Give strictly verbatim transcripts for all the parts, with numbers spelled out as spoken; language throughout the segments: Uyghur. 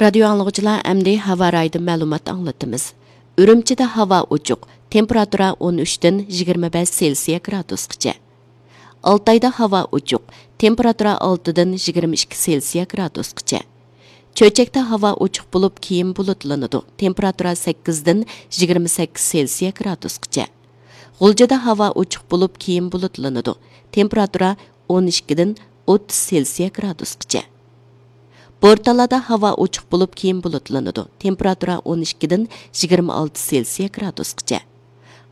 رادىيو ئاڭلىغۇچىلار، ئەمدى ھاۋا رايىدىن مەلۇمات ئاڭلىتىمىز. ئۈرۈمچىدە ھاۋا ئوچۇق، تېمپېراتۇرا ئون ئۈچتىن يىگىرمە بەش سېلسىيە گرادۇسقىچە. ئالتايدا ھاۋا ئوچۇق، تېمپېراتۇرا ئالتىدىن يىگىرمە ئىككى سېلسىيە گرادۇسقىچە. چۆچەكتە ھاۋا ئوچۇق بولۇپ، كېيىن بۇلۇتلىنىدۇ، تېمپېراتۇرا سەككىزدىن يىگىرمە سەككىز سېلسىيە گرادۇسقىچە. غۇلجىدا ھاۋا ئوچۇق بولۇپ، كېيىن بۇلۇتلىنىدۇ، تېمپېراتۇرا ئون ئىككىدىن ئوتتۇز سېلسىيە گرادۇسقىچە. بورتالادا ھاۋا ئوچۇق بولۇپ، كېيىن بۇلۇتلىنىدۇ، تېمپېراتۇرا ئون ئىككىدىن يىگىرمە ئالتە سېلسىيە گرادۇسقىچە.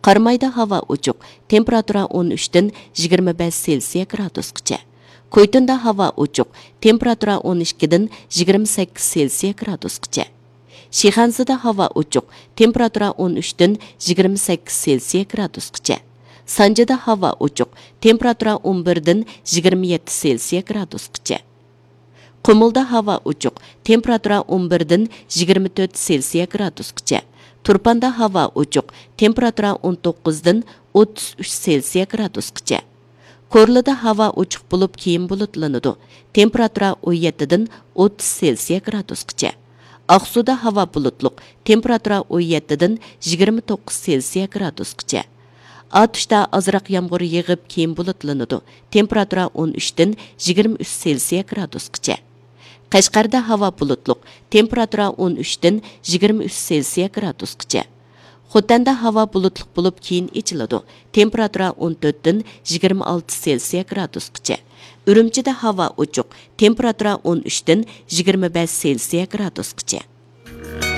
قارامايدا ھاۋا ئوچۇق، تېمپېراتۇرا ئون ئۈچتىن يىگىرمە بەش سېلسىيە گرادۇسقىچە. كويتۇندا ھاۋا ئوچۇق، تېمپېراتۇرا ئون ئىككىدىن يىگىرمە سەككىز سېلسىيە گرادۇسقىچە. شىخەنزىدە ھاۋا ئوچۇق، تېمپېراتۇرا ئون ئۈچتىن يىگىرمە سەككىز سېلسىيە گرادۇسقىچە. سانجىدا ھاۋا ئوچۇق، تېمپېراتۇرا ئون بىردىن يىگىرمە يەتتە سېلسىيە گرادۇسقىچە. قۇمۇلدا ھاۋا ئوچۇق، تېمپېراتۇرا ئون بىردىن يىگىرمە تۆت سېلسىيە گرادۇسقىچە. تۇرپاندا ھاۋا ئوچۇق، تېمپېراتۇرا ئون توققۇزدىن ئوتتۇز ئۈچ سېلسىيە گرادۇسقىچە. كورلىدا ھاۋا ئوچۇق بولۇپ، كېيىن بۇلۇتلىنىدۇ، تېمپېراتۇرا ئون يەتتىدىن ئوتتۇز سېلسىيە گرادۇسقىچە. ئاقسۇدا ھاۋا بۇلۇتلۇق، تېمپېراتۇرا ئون يەتتىدىن يىگىرمە توققۇز سېلسىيە گرادۇسقىچە. ئاتۇشتا ئازراق يامغۇر يېغىپ، كېيىن بۇلۇتلىنىدۇ، تېمپېراتۇرا ئون ئۈچتىن يىگىرمە ئۈچ سېلسىيە گرادۇسقىچە. قەشقەردە ھاۋا بۇلۇتلۇق، تېمپېراتۇرا ئون ئۈچتىن يىگىرمە ئۈچ سېلسىيە گرادۇسقىچە. خوتەندە ھاۋا بۇلۇتلۇق بولۇپ، كېيىن ئېچىلىدۇ، تېمپېراتۇرا ئون تۆتتىن يىگىرمە ئالتە سېلسىيە گرادۇسقىچە. ئۈرۈمچىدە ھاۋا ئوچۇق، تېمپېراتۇرا ئون ئۈچتىن يىگىرمە بەش سېلسىيە گرادۇسقىچە.